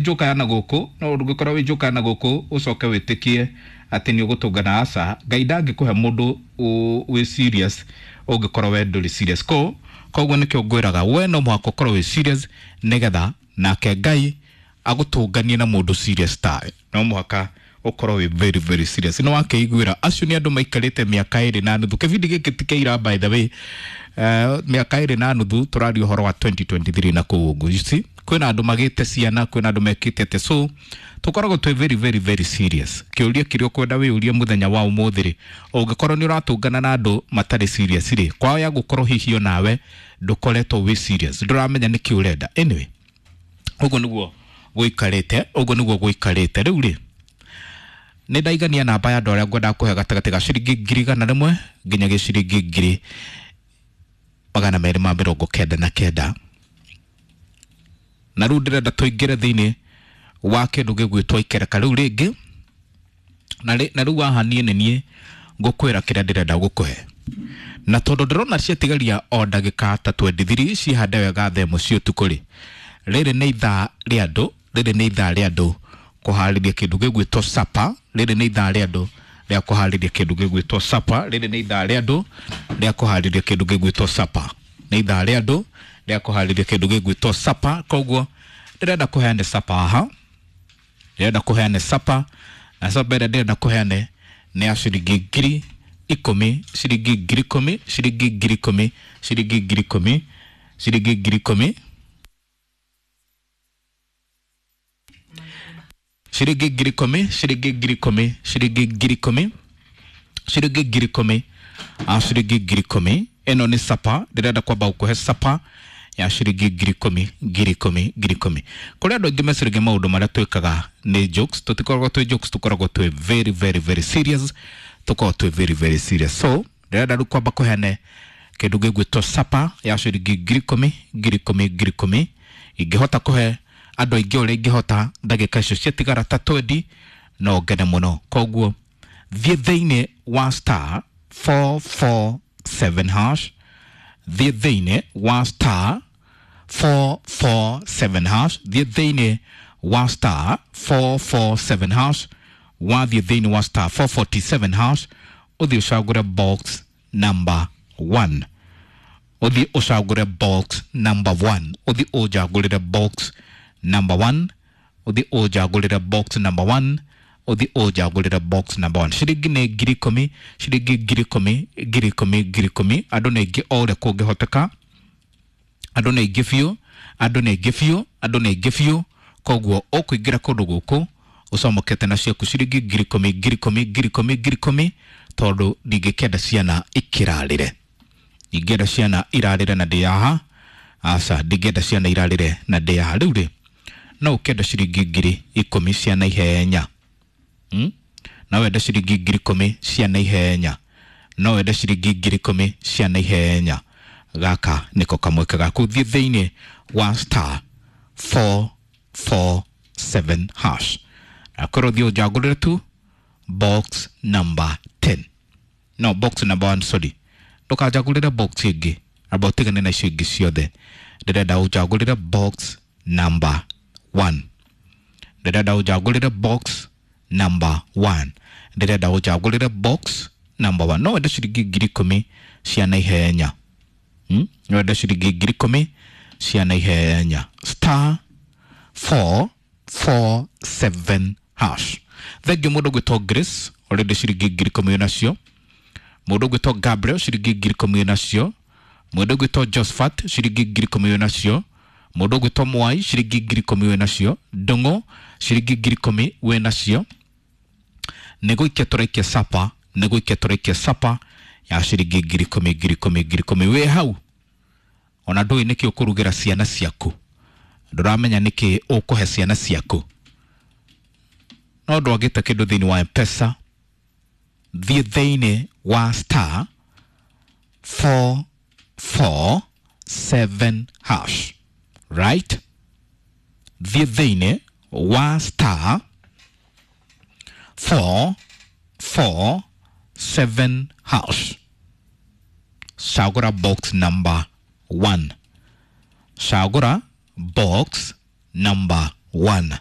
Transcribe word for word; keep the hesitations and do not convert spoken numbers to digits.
Njoka ya na gũkũ, no ndũngĩkorwo wĩ njoka ya na gũkũ ũcoke wĩtĩkie atĩ nĩ ũgũtũngana. Aca, Ngai ndangĩkũhe mũndũ wĩ serious ũngĩkorwo we ndũrĩ serious. Ko koguo nĩkĩo ngwĩraga we no mũhaka ũkorwo wĩ serious nĩgetha nake Ngai agũtũnganie na mũndũ serious tawe. No mũhaka ũkorwo wĩ very very serious. Nĩ wakĩiguĩra acio nĩ andũ maikarĩte mĩaka ĩrĩ na nuthu. Kĩbindi gĩkĩ ti kĩira, by the way. uh, mĩaka ĩrĩ na nuthu, tũraria ũhoro wa twenty twenty-three na kũu ũguo. You see, kwĩna andũ magĩte ciana, kwĩna andũ mekĩte atĩ, so tũkoragwo twĩ very very very serious. Kĩũria kĩrĩa ũkwenda wĩũrie mũthenya wa ũmũthĩ rĩ, ũngĩkorwo nĩ ũratũngana na andũ matarĩ serious rĩ, kwaya gũkorwo hihi onawe ndũkoretwo wĩ serious, ndũramenya nĩkĩ ũrenda. Anyway, ũguo nĩguo gũikarĩte, ũguo nĩguo gũikarĩte. Rĩu rĩ, nĩ ndaigania namba ya andũ arĩa ngwendaga kũhe gatagatĩ ga ciringi ngiri igana rĩmwe nginya ciringi ngiri magana merĩ ma mĩrongo kenda na kenda. Na rĩu ndĩrenda tũingĩre thĩinĩ wa kĩndũ gĩgwĩtwo ikereka rĩu rĩngĩ. Na rĩ- na rĩu haha niĩ nĩ niĩ ngũkwĩra kĩrĩa ndĩrenda gũkũhe, na tondũ ndĩrona ciatigaria o ndagĩka ta mĩrongo ĩĩrĩ na ithatũ cihande wega thaa ĩmwe cia ũtukũ rĩ, rĩrĩ nĩ ithaa rĩa andũ, rĩrĩ nĩ ithaa rĩa andũ kũharĩria kĩndũ gĩgwĩtwo sapa. Rĩrĩ nĩ ithaa rĩa andũ rĩa kũharĩria kĩndũ gĩgwĩtwo sapa. Rĩrĩ nĩ ithaa rĩa andũ rĩa kũharĩria kĩndũ gĩgwĩtwo sapa. Nĩ ithaa rĩa andũ rĩa kũharĩria kĩndũ gĩgwĩtwo sapa. Koguo ndĩrenda kũheane sapa haha, ndĩrenda kũheane sapa, na sapa ĩrĩa ndĩrenda kũheane nĩ ya ciringi ngiri ikũmi, ciringi ngiri ikũmi, ciringi ngiri ikũmi, ciringi ngiri ikũmi, ciringi ngiri ikũmi, ciringi ngiri ikũmi, ciringi ngiri ikũmi, ciringi ngiri ikũmi, ciringi ngiri ikũmi, a ciringi ngiri ikũmi. Ĩno nĩ sapa ndĩrenda kwamba gũkũhe, sapa ya ciringi ngiri ikũmi, ngiri ikũmi, ngiri ikũmi. Kũrĩ andũ aingĩ meciragia maũndũ marĩa twĩkaga nĩ jokes. Tũtikoragwo twĩ jokes, tũkoragwo twĩ very very very serious, tũkoragwo twĩ very very serious. So ndĩrenda rĩu kwamba kũheane kĩndũ gĩgwĩtwo sapa ya ciringi ngiri ikũmi, ngiri ikũmi, ngiri ikũmi. Ingĩhota kũhe andũ aingĩ ũrĩa ingĩhota ndagĩka icio ciatigara ta twendi, no ngene mũno. Koguo thiĩ thĩinĩ wa star four four seven hash, thiĩ thĩinĩ wa star four four seven hash, thiĩ thĩinĩ wa star four four seven hash. Wathiĩ thĩinĩ wa star four forty-seven hash, ũthiĩ ũcagũre box number one, ũthiĩ ũcagũre box number one, ũthiĩ ũnjagũrĩre box number one, ũthiĩ ũnjagũrĩre box number one, ũthiĩ ũnjagũrĩre box number one. Ciringi nĩ ngiri ikũmi, ciringi ngiri ikũmi, ngiri ikũmi, ngiri ikũmi. Andũ nĩ aingĩ o ũrĩa kũngĩhoteka, andũ nĩ aingĩ biũ, andũ nĩ aingĩ biũ, andũ nĩ aingĩ biũ. Koguo ũkũingĩra kũndũ gũkũ ũcomokete na ciaku ciringi ngiri ikũmi, ngiri ikũmi, ngiri ikũmi, ngiri ikũmi, tondũ ndingĩkenda ciana ikĩrarĩre, ndingĩenda ciana irarĩre na ndĩ haha. Aca, ndingĩenda ciana irarĩre na ndĩ haha. Rĩu rĩ, no ũkĩenda ciringi ngiri ikũmi cia naihenya, hmm? No wende ciringi ngiri ikũmi cia naihenya, no wende ciringi ngiri ikũmi cia naihenya. Gaka nĩko kamweke gaku. Thiĩ thĩinĩ wa star four four seven hash, akorwo thiĩ ũnjagũrĩre tu box number ten, no, box number one, sorry. Ndũkanjagũrĩre box ĩngĩ, amba ũtigane na icio ingĩ ciothe. Ndĩrenda ũnjagũrĩre box number one, ndĩrenda ũnjagũrĩre box number one, ndĩrenda ũnjagũrĩre box number one. No wende ciringi ngiri ikũmi cia naihenya, hmm? No wende ciringi ngiri ikũmi cia naihenya. Star four four seven hash. Thengiũ mũndũ ũgwĩtwo Grace, already ciringi ngiri ikũmi nacio. Mũndũ ũgwĩtwo Gabriel, ciringi ngiri ikũmi nacio. Mũndũ ũgwĩtwo Josephat, ciringi ngiri ikũmi nacio. Mũndũ ũgwĩtwo Mwai, ciringi ngiri ikũmi wĩ nacio. Ndũng'ũ, ciringi ngiri ikũmi wĩ nacio. Nĩ gũikia tũraikia sapa, nĩ gũikia tũraikia sapa ya ciringi ngiri ikũmi, ngiri ikũmi, ngiri ikũmi. Wĩ hau ona ndũĩ nĩkĩ ũkũrugĩra ciana ciaku, ndũramenya nĩkĩ ũkũhe ciana ciaku, no ndwagĩte kĩndũ thĩinĩ wa M-Pesa. Thiĩ thĩinĩ wa star four four seven hash, right? Thiĩ thĩinĩ wa star four four seven hash, cagũra box number one, cagũra box number one.